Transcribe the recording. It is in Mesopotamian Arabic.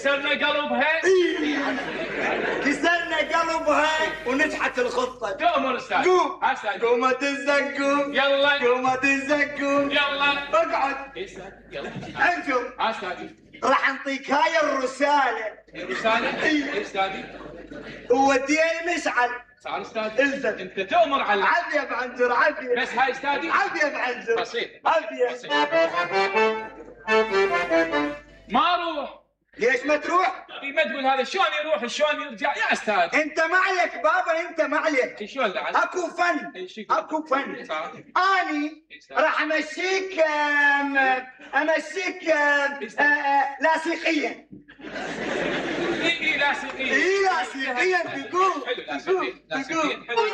كسرنا قلبها. كسرنا قلبها ونجحت الخطة. تؤمر استاذ. قوم. استاذ. قومة الزقوم. يلا. قومة الزقوم. يلا. اقعد. استاذ يلا. انجم. استاذ. راح نعطيك هاي الرسالة. الرسالة؟ اي استاذي. ووديها المشعل. صار استاذ. الزم. انت تؤمر على عبي يا بعنزر عبي. بس هاي استاذي. عبي يا بعنزر. بسيط. عبي. بسيط. ما اروح. ليش ما تروح؟ ما تقول هذا شلون يروح شلون يرجع يا استاذ. انت ما عليك بابا، انت ما عليك. شلون بعد؟ اكو فن. اكو فن. صح. اني راح امشيك لاصقيا. اي لاصقيا. اي لاصقيا تقول. حلو لاصقيا. تقول.